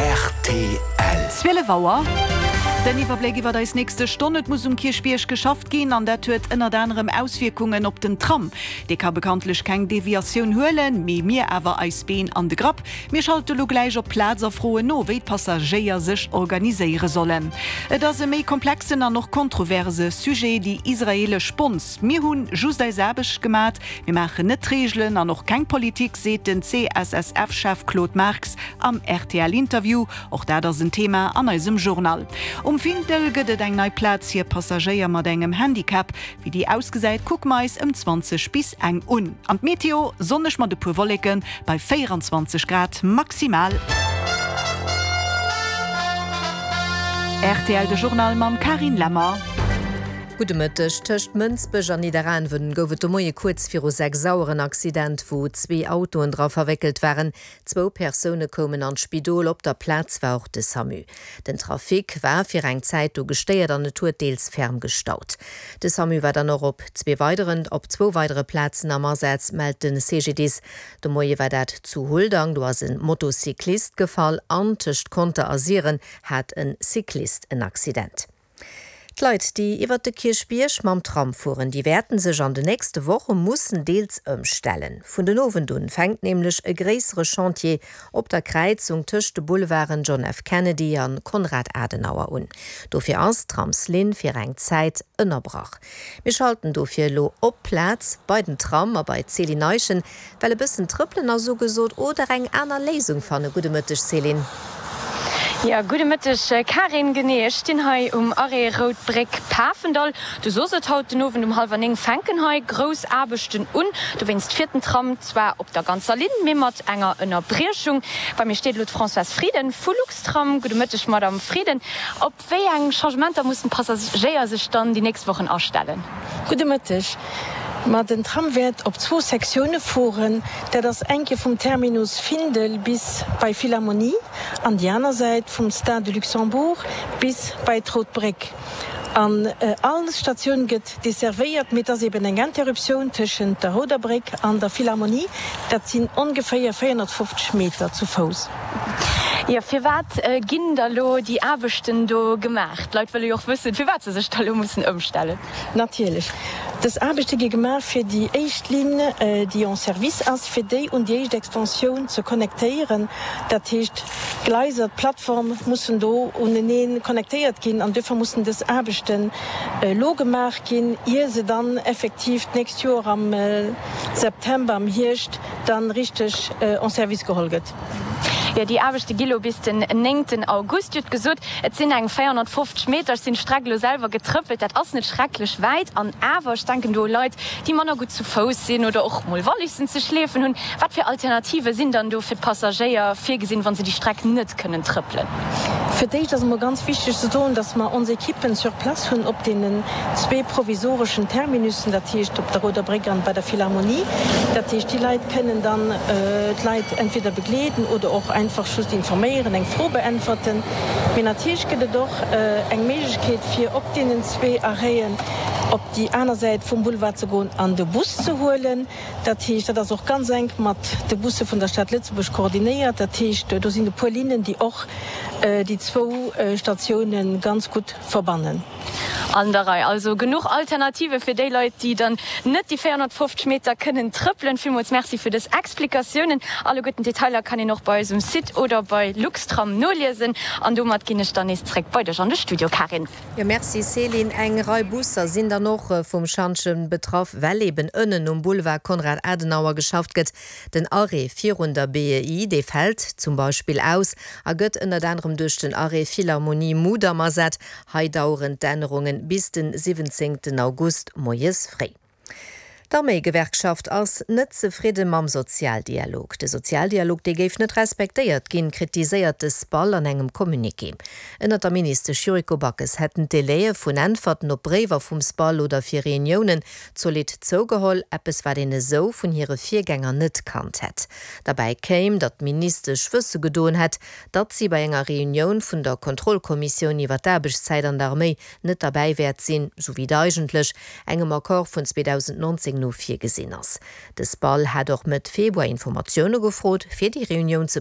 Rtl. 12 Auer, Den Iwwerbléck iwwer eis nächste Stonn. Et muss um Kierchbierg geschafft ginn an dat huet ënnert anerem Auswierkungen op den Tram. Dee ka bekanntlech keng Deviatioun huelen, mee mir awer eis Been an de Grapp. Mir schalte lo gläich op d'Plaz a froen no, wéi d'Passagéier sech organiséiere sollen. Et ass e méi komplexen an och kontroverse Sujet, déi israeelesch Bonds. Mir hu just eis Aarbecht gemat, Mir maachen net d'Reegelen an och keng Politik, seet den CSSF-Chef Claude Marx am RTL-Interview. Och dat ass en Thema an eisem Journal. Um Findel gëtt et eng nei Plaz fir Passagéier mat engem Handicap. Wéi déi ausgesäit, kucke mer eis ëm 20 bis eng un. An d'Meteo, Sonneg mat e puer Wolleke bei 24 Grad maximal. Rtl, De Journal mam Carine Lemmer. Gudde Mëtteg. Tëscht Mënsbech an Nidderaanwen gouf et de Moie kuerz viru 6 Auer en Accident, wou zwee Autoen dra verwéckelt waren. Zwou Persoune koumen an d'Spidol, op der Plaz war och de Samu. Den Trafic war fir eng Zäit do gestéiert an et huet deels ferm gestaut. De Samu war dann och op zwee weideren op zwou weidere Plazen am Asaz, mellt de CGDIS. De Moie war dat zu Huldang, do ass e Motocyclist gefall an tëscht Conter a Siren hat e Cyclist en Accident. D'Leit, déi iwwert de Kierchbierg mam Tram fueren, déi wäerten sech an de nächste Woche mussen deels ëmstellen. Vun den Owend un fänkt nämlech e gréissere Chantier op der Kräizung tëscht de Boulevarden John F. Kennedy a Konrad Adenauer un. Dofir ass d'Tramslinn fir eng Zäit ënnerbrach. Mir schalten dofir elo op d'Plaz bei den Tram a bei d'Céline Eischen, Well e bëssen trëppelen ass ugesot oder eng aner Léisung fannen. Gudde Mëtteg Céline. Jo, gudde Mëtteg Karin. Genee, ech stinn hei um Arrêt Rout Bréck Pafendall. Du sos et, haut den Owend um hallwer 9 fänken hei grouss Aarbechten un. Dowéinst fiert den Tram zwar op der ganzer Linn, mee mat enger Ënnerbriechung. Bei mir steet elo d'Françoise Frieden vu Luxtram. Gudde Mëtteg Madame Frieden. Op Wéi eng Changementer mussen d'Passagéier sech dann déi nächst Wochen astellen? Gudde Mëtteg. Ma den Tram wäert op zwou Sektioune fueren. Dat ass eng Kéier vum Terminus Findel bis bei Philharmonie an déi aner Säit vum Stade de Luxembourg bis bei d'Rout Bréck. An all Statioun gëtt desservéiert, mee et ass eben eng Interruptioun tëschent der Rouder Bréck an der Philharmonie. Dat sinn ongeféier 450 Meter zu Fouss. Jo, firwat ginn da lo déi Aarbechten do gemaach? D'Leit wëlle jo och wëssen, firwat se sech da lo mussen ëmstellen. Natierlech. Dës Aarbechte gi gemaach, fir déi éischt Linn, déi en service ass, fir déi un déi éischt Extensioun ze connectéieren. Dat heescht, d'Gleiser, d'Plattform mussen do unenee connectéiert ginn an duerfir mussen dës Aarbechten elo gemaach ginn, ier se dann effektiv d'nächst Joer am September, am Hierscht dann richteg en service geholl gëtt. Jo, déi Aarbechte gi lo bis den néngten August. Dir hutt gesot, et sinn eng 450 Meter. Ech sinn d'Streck elo selwer getrëppelt, dat ass net schrecklech wäit. An awer, ech denken do u Leit, déi manner gutt zu Fouss sinn oder och mol Wallissen ze schleefen hunn. Wat fir Alternative sinn dann do fir d'Passagéier virgesinn, wa se déi Streck net kënnen trëppelen? Fir d'éischt ass emol ganz wichteg ze soen, dass mer ons Ekippen sur place hunn op deenen zwee provisoreschen Terminussen, dat heescht op der Rouder Bréck an bei der Philharmonie. Dat heescht, déi Leit kënnen dann d'Leit entweder begleeden oder och einfach just informéieren, eng Fro beäntwerten. Mee natierlech gëtt et och eng Méiglechkeet, fir op deenen zwee Arrêten op déi aner Säit vum Boulevard ze goen an de Bus ze huelen. Dat heescht, dat ass och ganz enk mat de Busse vun der Stad Lëtzebuerg koordinéiert. Dat heescht, do sinn e puer Linnen, déi och déi zwou Statioune ganz gutt verbannen. An der Rei. Also genuch Alternative fir déi Leit, déi dann net déi 450 Meter kënnen trëppelen. Villmools Merci fir dës Explikatiounen. Alleguerten d'Detailer kann een och bei eis um Site oder bei Luxtram noliesen. An domat ginn ech dann nees zréck bei dech an de Studio, Karin. Jo, merci Céline. Eng Rei Busser sinn dann och vum Schantjen betraff, well eben ënnen um Boulevard Konrad Adenauer geschafft gëtt. Den Arrêt virun der BEI, dee fält zum Beispill aus a gëtt ënnert anerem duerch den Arrêt Philharmonie Mudam ersat. Hei daueren d'Ännerungen bis den 17 August moies fréi. D'Arméigewerkschaft ass net zefridde mam Sozialdialog. De Sozialdialog, dee géif net respektéiert ginn, kritiséiert de SPAL an engem Communiqué. Ënnert der Ministesch Yuriko Backes hätten d'Delaie vun Äntwerten op Bréiwer vum SPAL oder fir Reuniounen zolidd zougeholl, eppes wat een esou vun hire Virgänger net kannt hätt. Derbäi kéim, datt d'Ministesch wësse gedoen hätt, datt si bei enger Reunioun vun der Kontrollkommissioun iwwer d'Aarbechtszäit an der Arméi net derbäi wäert sinn, sou wéi et eigentlech engem Accord vun 2019 no virgesinn ass. De SPAL hat och Mëtt Februar Informatioune gefrot, fir déi Reunioun ze.